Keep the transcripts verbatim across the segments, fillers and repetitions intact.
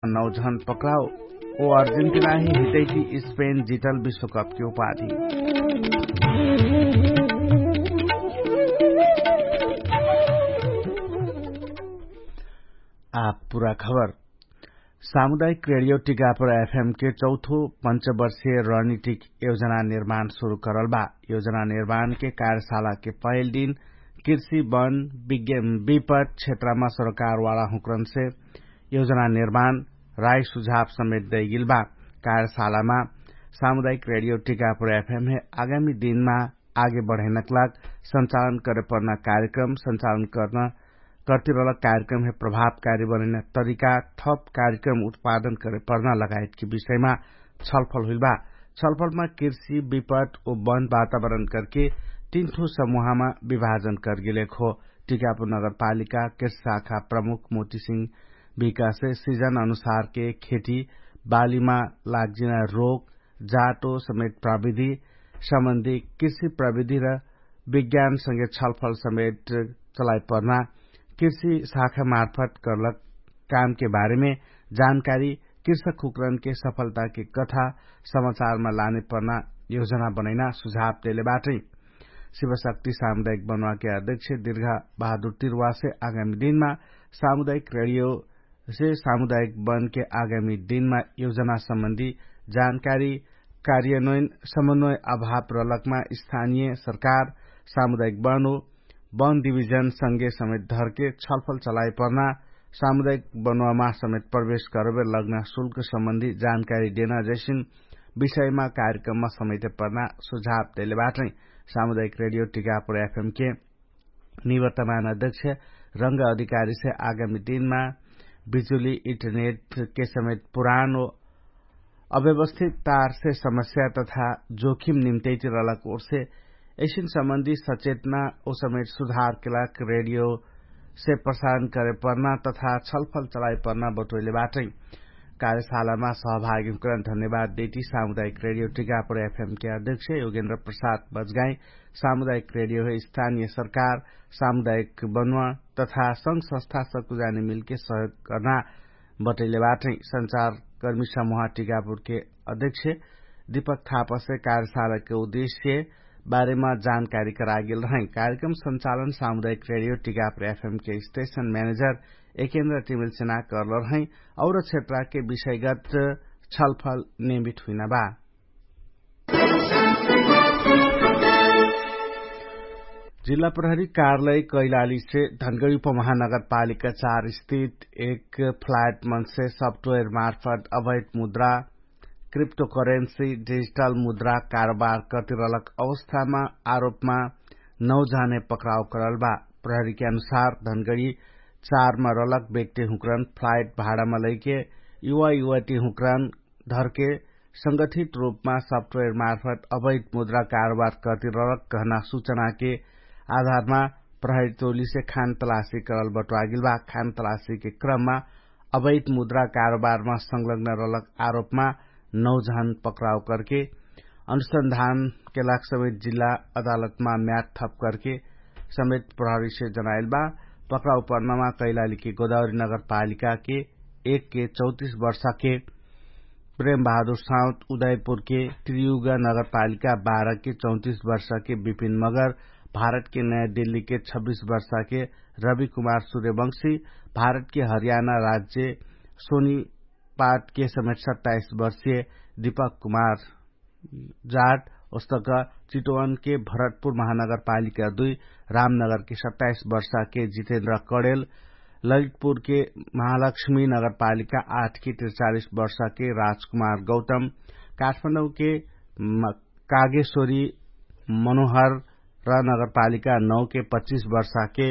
नौझन पक्राउ। ओ अर्जेन्टिना हि हितैति स्पेन जितल विश्वकपके उपाधि। आप पुरा खबर। सामुदायिक रेडियो टिकापुर एफएमके चौथो पञ्चवर्षीय रणनीतिक योजना निर्माण सुरु करल बा। योजना निर्माणके कार्यशालाके पहिल दिन कृषि वन विपट क्षेत्रमा सरोकारवाला हुँक्रनसे योजना निर्माण राई सुझाव समेत दैगिल बा। कार्यशालामा सामुदायिक रेडियो टिकापुर एफएमहे आगामी दिनमा आगे बढैनक लाग सञ्चालन करेपर्ना कार्यक्रम सञ्चालन करतिरलक कार्यक्रमहे प्रभावकारी बनैना तरिका थप कार्यक्रम उत्पादन करेपर्ना लगायतके विषयमा छलफल हुइल बा। छलफलमा कृषि विपट ओ वन वातावरण करके तीन ठो समूहमा विभाजन करगेलेक हो। टिकापुर नगरपालिका कृषि शाखा प्रमुख मोतिसिंह विकासे सिजन अनुसारके खेती बालीमा लाग्जिना रोग जाटो समेत प्रविधि सम्बन्धी कृषि प्रविधि र विज्ञानसँगे छलफल समेत चलाइपर्ना कृषि शाखा मार्फत करलक कामके बारेमे जानकारी कृषक हुक्रनके सफलताके कथा समाचारमा लानेपर्ना योजना बनैना सुझाव देले बाटै। शिवशक्ति सामुदायिक बनुवाके अध्यक्ष दीर्घा बहादुर तिरुवासे आगामी दिनमा सामुदायिक रेडियो से सामुदायिक वनके आगामी दिनमा योजना सम्बन्धी जानकारी कार्यान्वयन समन्वय अभाव रहलकमा स्थानीय सरकार सामुदायिक वन ओ वन डिभिजन संगे समेत धरके छलफल चलाइपर्ना सामुदायिक वनुवामा समेत प्रवेश करबे लग्ना शुल्क सम्बन्धी जानकारी देना जैसिन विषयमा कार्यक्रममा समेत पर्ना सुझाव देले बाटै। सामुदायिक रेडियो टिकापुर एफएमके निवर्तमान अध्यक्ष रंग अधिकारीसे आगामी दिनमा बिजुली इन्टरनेटके समेत पुरानो अव्यवस्थित तारसे समस्या तथा जोखिम निम्तैति रहलक ओर्से ऐसिन सम्बन्धी सचेतना ओ समेत सुधारके लाग रेडियोसे प्रसारण करेपर्ना तथा छलफल चलाइपर्ना बटोइले बाटै। कार्यशालामा सहभागी हुँकरण धन्यवाद देती सामुदायिक रेडियो टिकापुर एफएमके अध्यक्ष योगेन्द्र प्रसाद बजगाई सामुदायिक रेडियो है स्थानीय सरकार सामुदायिक बनुवा तथा संघ संस्था सकुजाने मिलके सहयोग कर्ना बटैले बाटै। संचारकर्मी समुहा टिकापुरके अध्यक्ष दीपक थापसे कार्यशालाके उद्देश्य बारेमा जानकारी करागेल रहै। कार्यक्रम संचालन सामुदायिक रेडियो Tikapur FMK station manager Ekendra टिमिल सेना कर्ल रहै। और क्षेत्रके विषयगत छलफल नियमित हुइना बा। जिल्ला प्रहरी कार्यालय कैलालीसे धनगडी उपमहानगरपालिका चार स्थित एक फ्लाइट मनसे सफ्टवेयर मार्फत अवैध मुद्रा क्रिप्टोकरेन्सी डिजिटल मुद्रा कारोबार कतिरलक अवस्थामा आरोपमा नौ जाने पक्राउ करल बा। प्रहरीके अनुसार धनगडी चारमा रलक व्यक्ति हुँकरन फ्लाइट भाडामा लैके युवा युवती हुँकरन धरके संगठित रूपमा सफ्टवेयर मार्फत अवैध मुद्रा कारोबार कतिरलक कहना सुचनाके आधारमा प्रहरी टोलीसे खान तलासी करल बटुवागिल बा। खान तलासीके क्रममा अवैध मुद्रा कारोबारमा संलग्न रलक आरोपमा नौ जहन पक्राउ करके अनुसन्धानके लाग समेत जिल्ला अदालतमा म्याद थप करके समेत प्रहरीसे जनाइल बा। पक्राउ पर्नामा कैलालीके गोदावरी नगरपालिकाके एकके चौतिस वर्षाके प्रेम बहादुर साउत उदयपुरके त्रियुगा नगरपालिका बाह्रके चौतिस वर्षाके विपिन मगर भारतके नयाँ दिल्लीके छब्बिस वर्षाके रवि कुमार सुर्यवंशी भारतके हरियाणा राज्य सोनी पाटके समेत सत्ताइस वर्षीय दीपक कुमार जाट ओस्तक चिटोवनके भरतपुर महानगरपालिका दुई रामनगरके सत्ताइस वर्षाके जितेन्द्र कडेल ललितपुरके महालक्ष्मी नगरपालिका आठके त्रिचालिस वर्षाके राजकुमार गौतम काठमाडौँके कागेश्वरी मनोहर र नगरपालिका नौके पच्चिस वर्षाके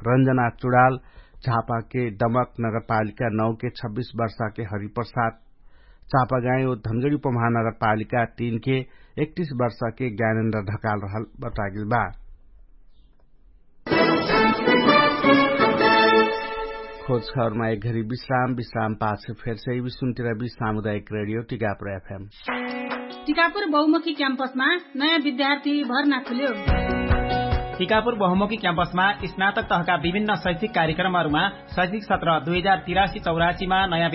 रञ्जना चुडाल झापाके दमक नगरपालिका नौके छब्बिस वर्षाके हरिप्रसाद चापागाई ओ धनगडी उपमहानगरपालिका तीनके एकतिस वर्षाके ज्ञानेन्द्र ढकाल रहल बतागिल बा। खोज खबरमा एक घरी विश्राम विश्राम पाछ फेरसे विश्वन्तिरबी सामुदायिक रेडियो टिकापुर एफएम। टिकापुर बहुमुखी क्याम्पसमा नयाँ विद्यार्थी भर्ना खुल्यो। टिकापुर बहुमुखी क्याम्पसमा स्नातक तहका विभिन्न शैक्षिक कार्यक्रमहरूमा शैक्षिक सत्र दुई हजार तिरासी चौरासीमा नयाँ